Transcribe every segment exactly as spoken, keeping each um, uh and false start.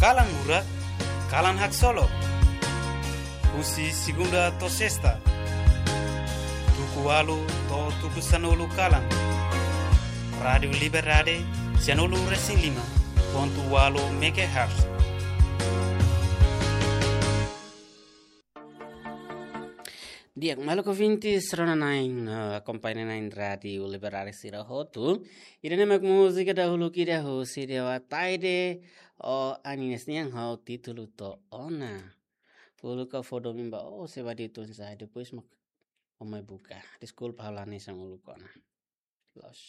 Kalan Murak, kalan haksolok. Husi segunda to'o sesta, tuku ualu to'o tuku sanulu kalan. Rádiu Liberdade, sanulu resin lima pontu ualu megahertz. Di'ak, maluk ouvinte, rona-na'in, eh, akompaña na'in Rádiu Liberdade sira hotu. Ida-ne'e mak múzika dahuluk ida husi Dewa Taide, o Anines nian ho títulu To'o Ona. Uluk ha'u fó domin ba ó, se ba di tun sa, depois mak ó mai buka. Deskulpa ha'u la hanesan uluk ona. Loos.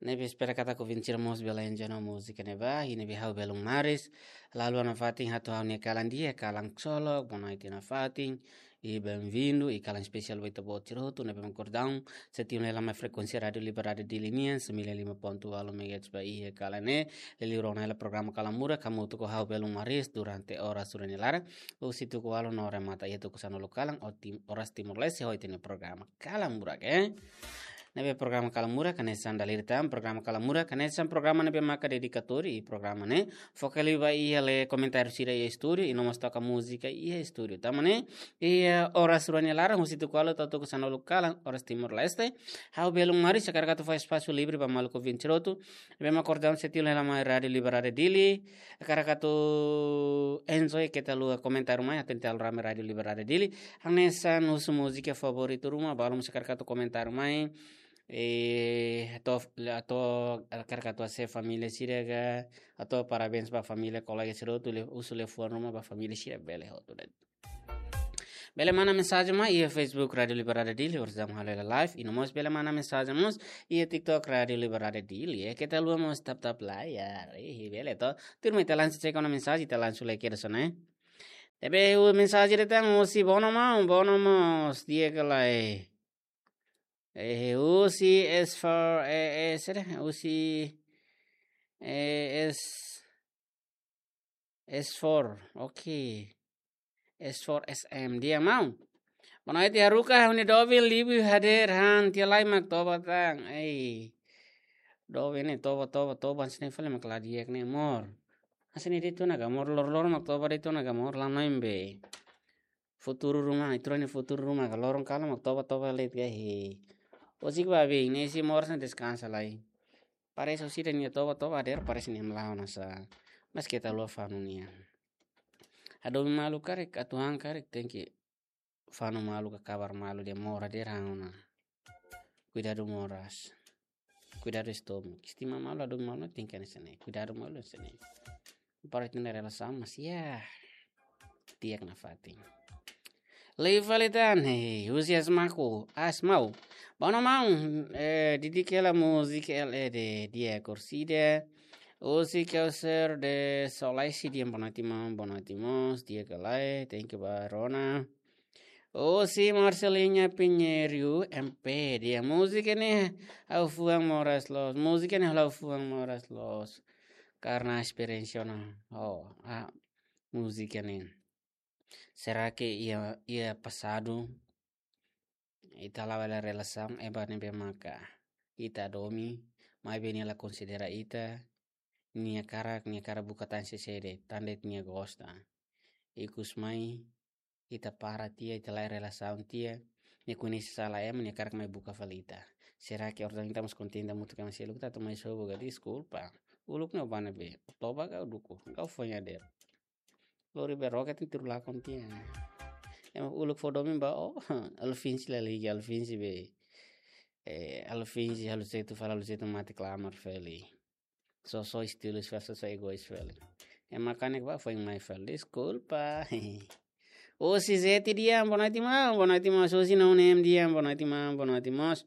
Ne'ebé espera katak ouvinte sira mós bele enjoy ona múzika ne'ebá, i ne'ebé ha'u belun maris. Lalu nafatin hato'o ha'u-nia kalan di'ak, kalan haksolok, bonoite nafatin. I benvindu, i kalan espesiál ba ita-boot sira hotu ne'ebé mak kordau, sei tiun hela mai frekuénsia Rádiu Liberdade Dili nian, sembilan lima pontu ualu megahertz ba iha kalan ne'e, liuliu rona hela programa Kalan Murak, hamutuk ho ha'u belun maris durante oras rua nia laran, husi tuku ualu no remata iha tuku sanulu kalan, o tim-, oras Timor-Leste, ho ita-nia programa Kalan Murak, eh. Ne'ebé programa Kalan Murak, hanesan dala ida tan, programa Kalan Murak, hanesan programa ne'ebé maka dedikatóriu, i programa ne'e foka liu ba iha lee komentáriu sira iha estúdiu, i no mós toka múzika iha estúdiu. Tanba ne'e, iha oras rua nia laran, husi tuku ualu to'o tuku sanulu kalan, oras Timor-Leste, ha'u belun maris, hakarak atu fó espasu livre ba maluk ouvinte sira hotu ne'ebé mak kordau, sei tiun hela mai Rádiu Liberdade Dili, hakarak atu enjoy, keta haluha komentáriu mai, atu ita halo rame Rádiu Liberdade Dili. Hanesan husu múzika favoritu ruma, balu mós hakarak atu komentáriu mai. Eh, atu, atu hakarak atu hase'e família sira ka, atu parabéns ba família, kolega sira hotu, le-, husu liafuan ruma ba família sira, bele hotu de'it. Bele manda mensajen mai iha Facebook Rádiu Liberdade Dili, orsida halo hela live, i no mós bele manda mensajen mós iha TikTok Rádiu Liberdade Dili, eh, keta haluha mós tap-tap layar, eh, bele to. Tuirmai ita langsung cek ona mensajen, ita langsung lee kedas ona, eh. Ne'ebé mensajen ida tan husi Bono Maun, Bono Maun, di'ak ka lae. Eh, husi S four, eh, eh, sira, husi, eh, S, S four, oke. S four S M, di'ak maun. Bonoite haruka, ha'u-nia doben liu hadeer han, tiha lai mak toba tan. Ei. Doben ne'e toba, toba, toba, hanesan ne'e fali mak la di'ak ne'e, amor. Hanesan ne'e de'it ona ka, amor, lor-lor mak toba de'it ona ka, amor, la noin be. Futuru ruma, ita rua nia futuru ruma ka, loron kalan mak toba-toba de'it ka, he. Husik ba bing, ne'e sei moras ne'e deskansa lai. Parese orsida nia toba-toba hadeer, parese nia melawan asa. Mas keta haluha fanu nia. Hadomi malu karik, atu han karik, tenke fanu malu ka kabar malu de'it, amor hadeer han ona. Kuidadu moras. Kuidadu estómagu. Estima malu, hadomi malu, tenke hanesan ne'e. Kuidadu malu hanesan ne'e. Para ita-nia relasaun, mas ya. Di'ak nafatin. Lei fali tan, hei, husi Asmaku, Asmau. Bono Maun, eh, didik hela múzika L E D, di'ak orsida. Husi Kauser de Solaisi, di'ak, bonoite maun, bonoite mós, di'ak ka lae, thank you ba rona. Husi Marcelinha Pinheiro M P, di'ak, múzika ne'e ha'u fuan moras loos, múzika ne'e ha'u fuan moras loos. Karena esperiénsia ona, oh, ah, múzika ne'e. Será que iha, iha pasadu, ita la'o hela relasaun, ema ne'ebé maka ita hadomi, maibé nia la konsidera ita, nia hakarak, nia hakarak buka tan sé-sé de'it, tan de'it nia gosta. Ikus mai, ita para tiha, ita la'o relasaun tiha, nia koñese sala ema, nia hakarak mai buka fali ita. Será que orsida ita mós kontente hamutuk ka, ema seluk ita atu mai sobu ka, deskulpa. Uluk ne'e ó bá ne'ebé, toba ka dukur, ka ó fó hadeer. Lori be roket ni turu lakon tiha. Ema uluk fó domin ba ó, Alfinsi la lagi, Alfinsi be. Eh, Alfinsi halo seitu fali, halo seitu mate klamar fali. Só, só estilu fali, só, só egois fali. Ema kanek ba foin mai fali, deskulpa. Husi Zeti, di'ak, bonoite maun, bonoite mós, husi Nonem, di'ak, bonoite maun, bonoite mós.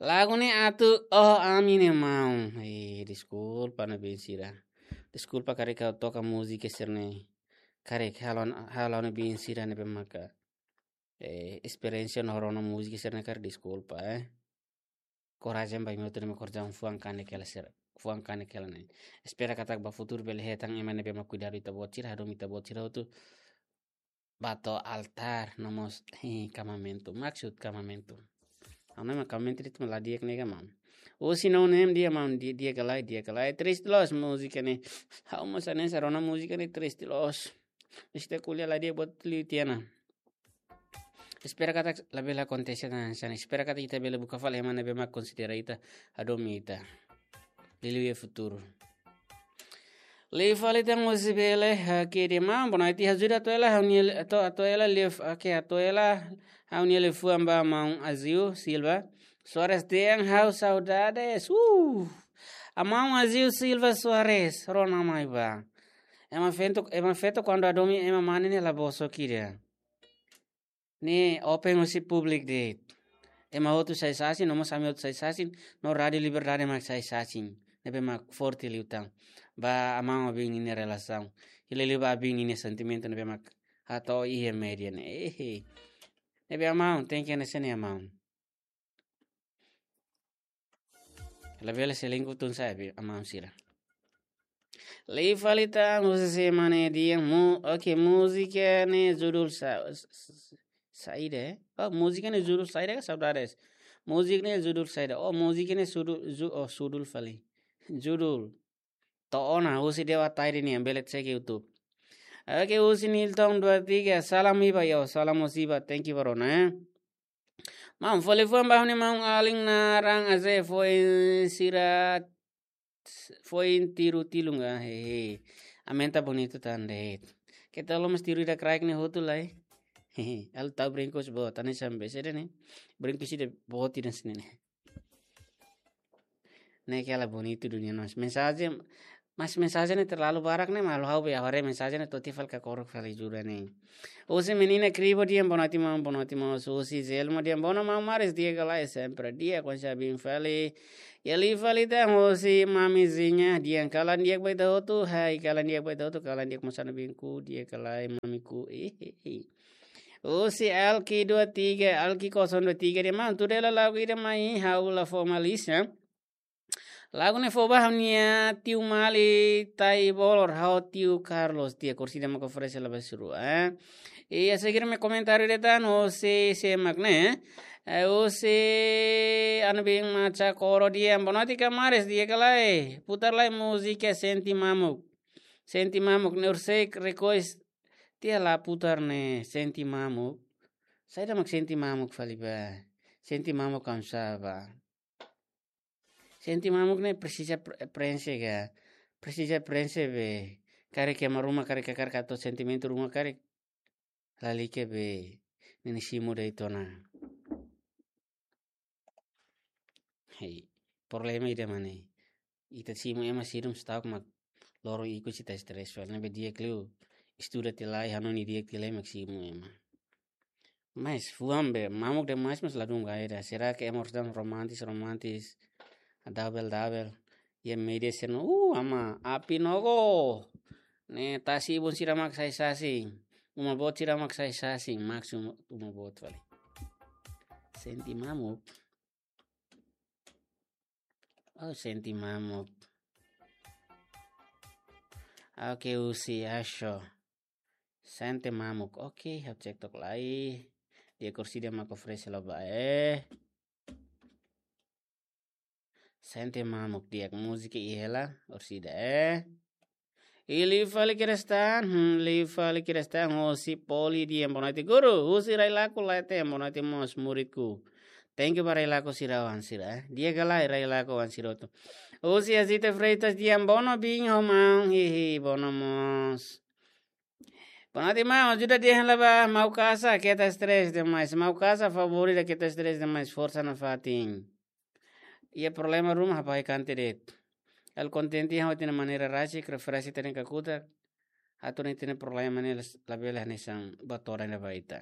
Lagu ne'e atu, oh, ami ne'e maun. Eh, deskulpa ne'ebé sira. Deskulpa karik ha'u toka múzika sira-ne'e. Karik halo, halo ne'ebé sira ne'ebé maka, eh, esperiénsia no rona múzika sira-ne'e karik, deskulpa, eh. Korajen ba imi hotu ne'ebé mak kordau, fuan kanek hela sira, fuan kanek hela ne'e. Espera katak ba futuru bele hetan ema ne'ebé mak kuidadu ita-boot sira, hadomi ita-boot sira hotu. Ba to'o altár, no mós, eh, kamamentu. Maksud kamamentu. Ha'u hanoin mak kamamentu de'it mak la di'ak ne'e ka, maun. Husi No Name, di'ak maun, di-, di'ak ka lae, di'ak ka lae. Triste loos múzika ne'e. Ha'u mós hanesan rona múzika ne'e triste loos. Ita ko'alia la di'ak buat liu tiha ona. Espera katak labele akontese tan hanesan ne'e. Espera katak ita bele buka fali ema ne'ebé mak konsidera ita, hadomi ita. Liuliu iha futuru. Liu fali tan husi Bele, oke, di'ak maun, boa noite, ajuda atu hela, ha'u-nia li-, atu, atu hela, liu, oke, atu hela, ha'u-nia liafuan ba maun Azil Silva Soares dehan ha'u saudades. Uh! Maun Azil Silva Soares, rona mai bá. Ema feto, ema feto kuandu hadomi ema mane ne'e la bosok ida. Ne'e open husi públiku de'it. Ema hotu sai sasin, no mós ami hotu sai sasin, no Rádiu Liberdade mak sai sasin. Ne'ebé mak forte liután ba maun-alin ninia relasaun. Hili liu ba alin ninia sentimentu ne'ebé mak hato'o iha média ne'e. Ehe. Ne'ebé maun, tenke hanesan ne'e maun. Labele selingkuh tun sabe, maun sira. Liu fali tan, husi sé mak ne'e di'ak mu-, oke, múzika ne'e judul sa-, s-, s-, saida, eh? Oh, múzika ne'e judul saida ka saudades? Múzika ne'e judul saida? Oh, múzika ne'e sudu-, ju-, oh, judul fali. Judul. To'o ona, husi Dewa Tairi nian, bele cek YouTube. Oke, husi Nilton dua tiga, salam Iba, yo, salam husi Iba, thank you, bro, né? Maun, fó liafuan ba ha'u-nia maun-alin naran Aze foin sira, foin tiru tilun ka, hehe. Aumenta bonitu tan de'it. Keta lo mas tiru ida kraik ne'e hotu lai. Hehe, halo tau brinkus boot, hanesan be sede ne'e. Brinkus ida boot ida sini ne'e. Ne'e kela bonitu dunia nos. Mensajen, mas mensajen ne'e terlalu barak ne'e, malu ha'u be haree mensajen ne'e to'o tiha fali kakorok fali jura ne'e. Husi menina Kribo di'ak, boa noite maun, boa noite maun. Husi Zelma di'ak, boa noite maun Maris, di'ak ka lae, sempre di'ak, kuandu sa bin fali. Iha liu fali tan husi mamizinha, di'ak, kalan di'ak ba ita hotu, hai, kalan di'ak ba ita hotu, kalan di'ak mós ha'u-nia binku, di'ak ka lae mamiku, eh, eh, eh. Husi Alki dua tiga, Alki kosong dua tiga di'ak, maun, tuda hela lagu ida mai, ha'u la fó malis, ya. Lagu ne'e fó ba ha'u-nia tiu Mali, Taibolor, ha'u tiu Carlos, di'ak, orsida mak oferese la ba sira rua, eh. I a seguir mak komentáriu de'it tan, husi sé mak ne'e, eh, husi Anubin Macha Koro di'ak, boa noite ka Maris, di'ak ka lae, putar lai múzika Sente Mamuk. Sente Mamuk, ne'e orsida request tiha la putar ne'e, Sente Mamuk. Saida mak Sente Mamuk fali bá? Sente Mamuk kamsa bá? Sente Mamuk ne'e presiza pre-, prenxe ka? Presiza prenxe be. Karik ema ruma, karik kakar ka to'o sentimentu ruma, karik lalika be. Ne'e simu de'it ona. Hei, problema ida mak ne'e. Ita simu ema sira duni stok mak loron ikus ita stres fali. Ne'ebé di'ak liu estuda tiha lai, hanoin di'ak tiha lai mak simu ema. Mas fuan be, mamuk demais mas ladún gaira. Será que ema harus dan romantis, romantis, double, double? Iha média sira-ne'e, uh, ama, api nogo. Ne'e tasi ibun sira mak sai sasin. Uma boot sira mak sai sasin, maksud uma boot fali. Sente Mamuk. Oh, Sente Mamuk. Oke, husi Asho. Sente Mamuk. Oke, ha'u cek tok lai. Di'ak, orsida mak oferese la bá, eh. Sente Mamuk, di'ak, múzika iha hela, orsida, eh. I liu fali kedas tan, hmm, liu fali kedas tan, husi Poli di'ak, boa noite guru, husi Railaco Laite, boa noite mós muridku. Thank you ba Railaco sira oan sira, eh. Di'ak ka lae Railaco oan sira hotu. Husi Azita Freitas di'ak, boa noite, bin ho maun, hihi, boa noite mós. Boa noite maun, ajuda dehan hela ba Mau Kasa, keta stres demais. Mau Kasa favorita, keta stres demais, forsa nafatin. Iha problema ruma, hapai kante de'it. Ha'u kontente, ha'u hatene maneira rasik, referensi tene kakutak. Atu ne'e tene problema ne'e las-, labele hanesan batoran da ba ita.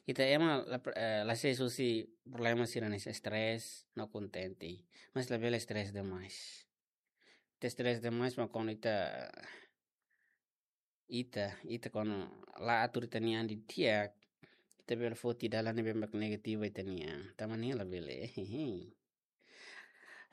Ita ema la, eh, la sei husi problema sira hanesan stres, no kontente. Mas labele stres demais. Ita stres demais, mak kuandu ita, ita, ita kuandu la atur ita-nia an didi'ak, ita bele foti dalan ne'ebé mak negativu ita-nia an. Tanba ne'e labele.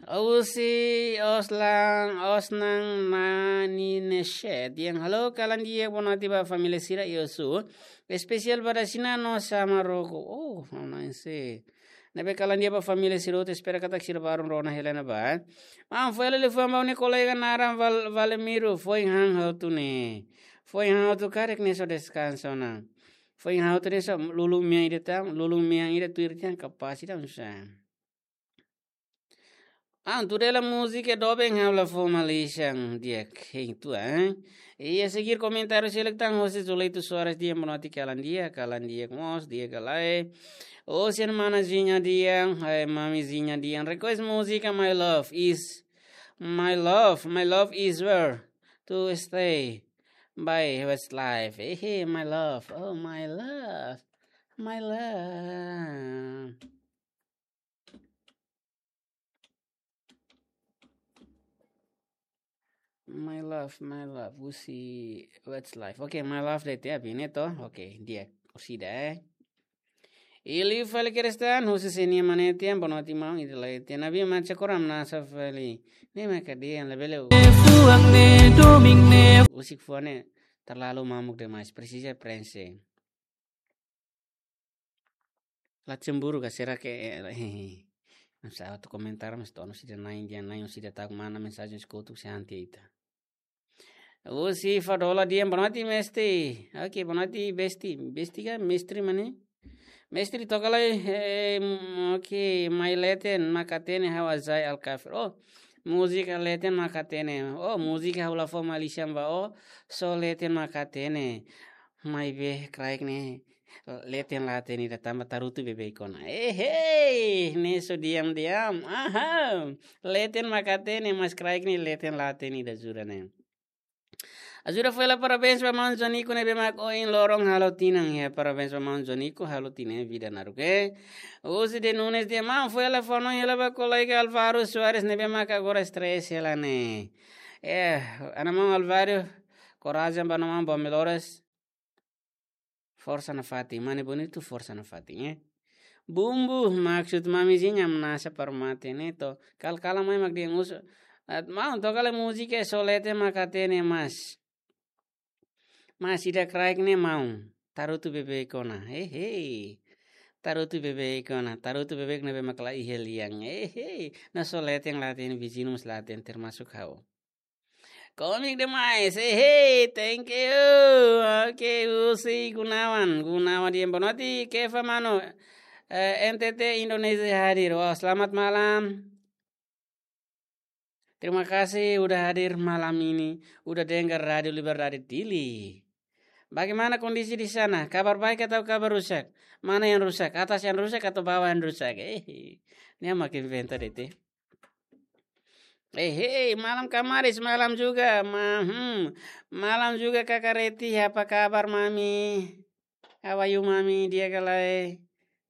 Husi Oslan, Osnan Nani Neshe. Di'ak, halo, kalan di'ak, boa noite ba família sira, Yosu. Espesiál ba Dasina no Samaroko. Oh, nice. Ne'ebé kalan di'ak ba família sira hotu, espera katak sira baru rona hela ne'ebá. Maun, foin hela liafuan ba ó-nia kolega naran Val-, Valemiro, foin han hotu ne'e. Foin han hotu karik ne'e só deskansa ona. Foin han hotu ne'e só lulun mean ida tan, lulun mean ida tuir tiha kapás ida nusá. Ah, tuir hela múzika doben ha'u la fó malisan di'ak hein tua, eh? Iha seguir komentáriu seluk tan hosi Zuleito Soares dehan boa noite, kalan di'ak, kalan di'ak mós, di'ak ka lae. Hosi mana Zinha dehan, hai mami Zinha dehan, request múzika My Love is, My Love, My Love is Where to Stay by Westlife. Eh, eh, my love, oh my love, my love. My love, my love, husi Westlife. Oke, my love de'it ya, bine to. Oke, di'ak, orsida, eh. Liu fali Kerestan, husi Senia Manetian, boa noite maun, ita lai tiha ne'ebé mak cakor hamnasa fali. Ne'e mak dehan labele. Fuan ne'e, domin ne'e. Husik fuan ne'e terlalu mamuk demais, presiza prenxe. La cemburu ka, será que, eh, eh, eh. Nusá atu komentar, mas to'o orsida na'in, dia na'in, orsida tak mana mensajen eskutu se anti ita. Husi Fadola dehan boa noite, mestre. Oke, boa noite, besti. Besti ka, mestre mane? Mestre toka lai, eh, m-, oke, mai leten mak hatene ha'u Azai Alkafir. Oh, múzika leten mak hatene. Oh, múzika ha'u la fó malisan ba ó, só leten mak hatene. Maibé kraik ne'e leten la hatene ida tanba tarutu beibeik ona. Eh, hei, ne'e só diam-diam. Aha. Leten mak hatene, mas kraik ne'e leten la hatene ida jura ne'e. Ajuda foin hela parabéns ba maun Jonico ne'ebé mak ohin loron halo tinan. Ya, parabéns ba maun Jonico halo tinan vida naruk, eh. Husi de Nunes dehan maun foin hela fó hanoin hela ba kolega Alvaro Soares ne'ebé mak agora stress hela ne'e. Eh, ana maun Alvaro, korajen ba maun, bom melhoras. Forsa nafatin, mane bonitu, forsa nafatin, eh. Bumbu, maksud mami Zinha hamnasa para mate ne'e to. Kal-, kalan mai mak dehan usu. At maun, toka lai múzika só leten mak hatene mas. Mas ida kraik ne'e maun. Tarutu beibeik ona. Hei, hei. Tarutu beibeik ona. Tarutu beibeik ne'ebé mak la iha lian. Hei, hei. Nah só leten la hatene, viziñu mós la hatene, termasuk ha'u. Komik demais. Hey, hey, thank you. Oke, husi Gunawan. Gunawan dehan boa noite, Kefa mano. Eh, N T T Indonesia hadir. Wah, selamat malam. Terima kasih udah hadir malam ini, udah dengar Radio Liberdade Dili. Bagaimana kondisi di sana? Kabar baik atau kabar rusak? Mana yang rusak? Atas yang rusak atau bawah yang rusak? Eh, ini yang makin benta deh, teh. Eh, hei, malam Kamaris, malam juga. Ma-, hmm, malam juga Kakak Reti, apa kabar, Mami? How are you, Mami? Di'ak ka lae?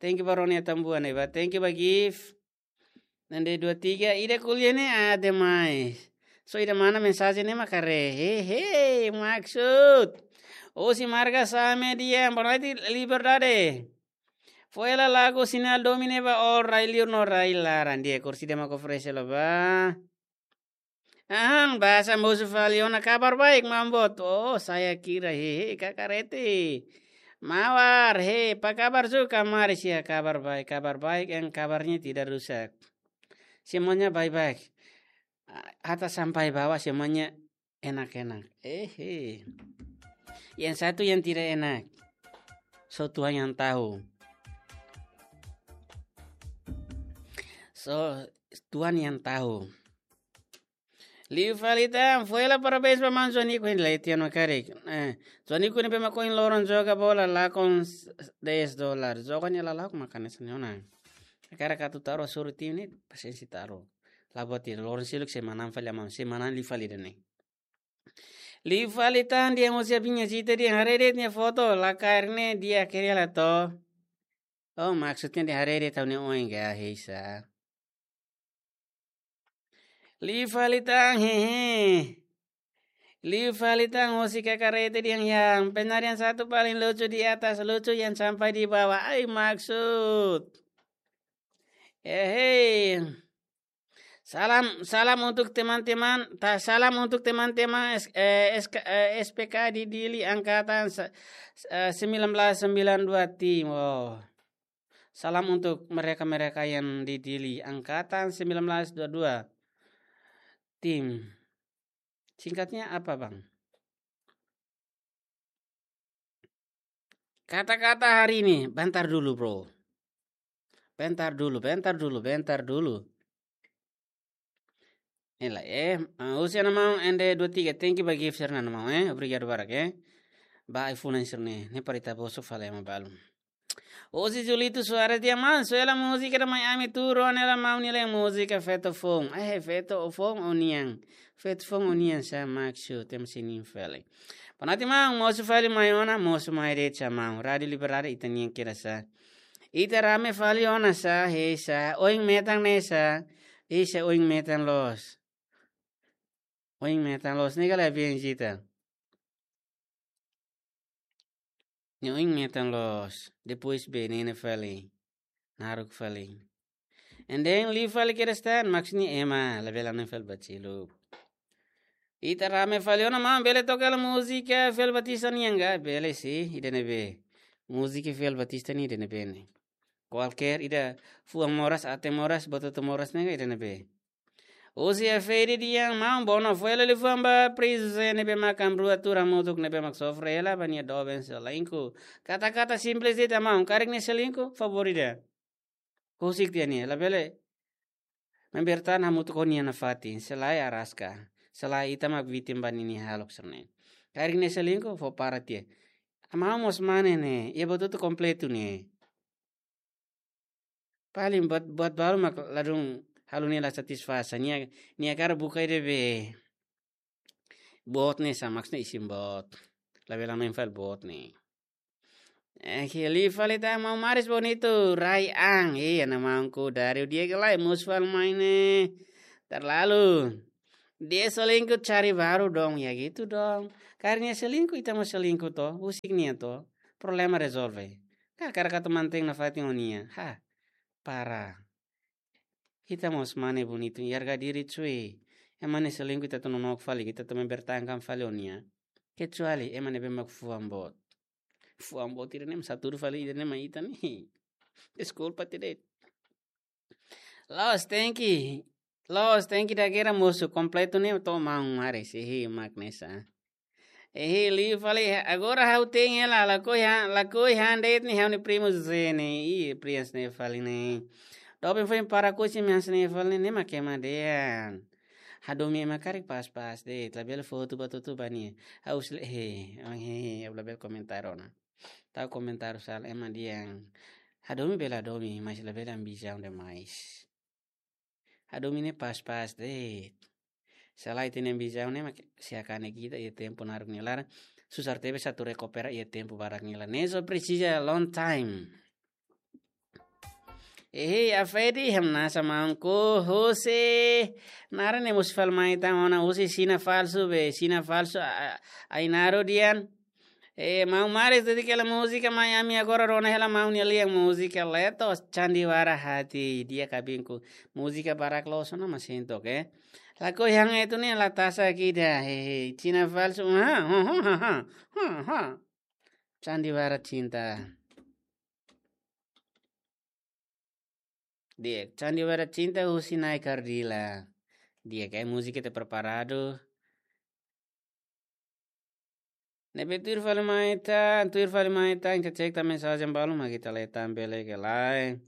Thank you ba ó-nia tambuan, eh, ba. Thank you ba gift. Nande dua tiga, ida ko'alia ne'e, ah, demais. So, ida mana mensajen ne'e mak haree. Hei, hei, maksud. Husi Marga Same dehan, boa noite, Liberdade. Foin hela lagu sinál domin ne'e ba ó rai liur no rai laran, di'ak, orsida mak oferese hela ba. Aham, bahasa mosu fali ona, kabar baik, maun boot. Oh, saya kira, hehe, Kakak Reti. Mawar, he, apa kabar juga, Kamaris ya, kabar baik, kabar baik, yang kabarnya tidak rusak. Semuanya baik-baik. Ah, hatta sampai bawah semuanya enak-enak. Eh, eh. Yang satu yang tidak enak. So Tuhan yang tahu. So Tuhan yang tahu. Liu fali tan, foin hela parabéns ba maun Jonico, hein, lai tiha ona karik. Eh, Jonico ne'ebé mak ohin loron joga bola, lakon s-, dez dolar. Joga nia lala'ok mak hanesan ne'e ona. Hakarak atu taru, hasoru tim ne'e, pasiénsia taru. La buat ida, loron seluk sei manán fali maun, sei manán liu fali ida-ne'e. Liu fali tan dehan husi Abinha Zita dehan haree de'it nia foto, la kaer ne'e di'ak hela to. Oh, maksudnya dehan haree de'it ha'u-nia oin ka, heisa. Liu fali tan, hehe. Liu fali tan husi Kakak Reti dehan yang penarian satu paling lucu di atas, lucu yang sampai di bawah. Ai, maksud. Hehe. Salam, salam untuk teman-teman, ta-, salam untuk teman-teman S-, eh, S K, eh, S P K di Dili angkatan se-, eh, sembilan belas sembilan dua tim. Oh. Salam untuk mereka-mereka yang di Dili, angkatan sembilan belas dua dua. Tim. Singkatnya apa, Bang? Kata-kata hari ini, bentar dulu, bro. Bentar dulu, bentar dulu, bentar dulu. Ela, eh, ah, husi Ana Maun N D dua tiga, thank you ba gift sira-ne'e Ana Maun, eh. Obrigadu barak, eh. Ba iPhone sira-ne'e, ne'e para ita bosok fali ema balu. Husi Julito Soares dehan: Maun, só hela múzika ida mai ami tuur ona hela, maun, nia hela múzika Feto Foun. Eh, Feto Foun ó-nian. Feto Foun ó-nian sá, Maxu, tem sinin fele. Boa noite, maun, mosu fali mai ona, mosu mai de'it sá, maun. Rádiu Liberdade ita-nian kedas sá. Ita rame fali ona sá, hei sá, oin metan ne'e sá, hei sá, oin metan loos. Oin metan loos, ne'e kala bien jita. Nia oin metan loos, depois bee nene fali, naruk fali. And then liu fali kedas tan, maksudnya ema, labele anu fali bacilu. Ita rame fali ona, maun, bele toka hela múzika Fiel Batista nian ka? Bele sih, ida-ne'ebé. Múzika Fiel Batista nian ida-ne'ebé ne'e. Kualkér ida, fuan moras, aten moras, buat hotu moras ne'e ka, ida-ne'ebé. Husi Afedi dehan: Maun, bono fó hela liafuan ba Prince José ne'ebé mak amrua tuur hamutuk ne'ebé mak sofre hela ba nia doben selingkuh. Kata-kata simples de'it, maun, karik nia selingkuh, favór ida. Husik tiha nia, labele membertahan hamutuk ho nia nafatin, selae araska, selae ita mak vítima ba ninia hahalok sira-ne'e. Karik nia selingkuh, fó para tiha. Maun mós mane ne'e, iha buat hotu kompletu ne'e. Paling buat, buat balu mak ladún halo nia la satisfás. Nia, nia hakarak buka ida be boot ne'e sá, maksudnya isin boot. Labele mai fali boot ne'e. Eh, liu fali tan, maun Maris Bonito, rai an. Iya, Ana Maun Ku Dario, di'ak ka lae, mosu fali mai ne'e. Terlalu. Dia selingkuh cari baru dong, ya gitu dong. Karik nia selingkuh, ita mós selingkuh to, husik nia to. Problema rezolve. Ka hakarak atu mantein nafatin ho nia. Ha, para. Ita mós mane bonitu, harga diri cuy. Ema ne'e selingkuh ita atu nonook fali, ita atu membertahankan fali ho nia. Kecuali ema ne'ebé mak fuan boot. Fuan boot ida-ne'e mak sá tuur fali ida-ne'e mai ita ne'e. Deskulpa tiha de'it. Loos, thank you. Loos, thank you, dadeer mosu kompletu ne'e to, maun Maris, ihi mak ne'e sá. Ihi, liu fali, agora ha'u tein hela, lakohi han, lakohi han de'it ne'e ha'u-nia primu José ne'e, i Prians ne'e fali ne'e. Doben foin para kusi mians ne'e fali ne'e, ne'e mak ema dehan. Hadomi ema karik pas-pas de'it, labele fó hotu ba tutu ba nia. Ha'u sele, he, he, he, labele komentar ona. Tau komentar sala ema dehan. Hadomi bele hadomi, mas labele ambisaun demais. Hadomi ne'e pas-pas de'it. Selae ita-nia ambisaun ne'e mak sei kanek ita iha tempu naruk nia laran. Susar tebes atu rekupera iha tempu barak nia laran. Ne'e só presiza long time. Ehe, Afedi, hamnasa maun Ku husi. Naran ne'e mosu fali mai tan ona husi Xina Falsu be, Xina Falsu, a, a, Ainaro dehan. Eh, maun Maris, dedika hela múzika mai ami, agora rona hela maun nia lian múzika Leto Sandiwara Hati, di'ak kabinku. Múzika barak loos ona, mas sinto ke. Lakohi han etu ne'e la tasa kida, hehe, Xina Falsu, ha, ha, ha. Sandiwara Cinta. Di'ak, Sandiwara Cinta husi Nai Kardila. Di'ak, múzika ita preparadu. Ne'ebé tuir fali mai tan, tuir fali mai tan, ita cek tan mensajen balu mak ita lee tan bele ka lae.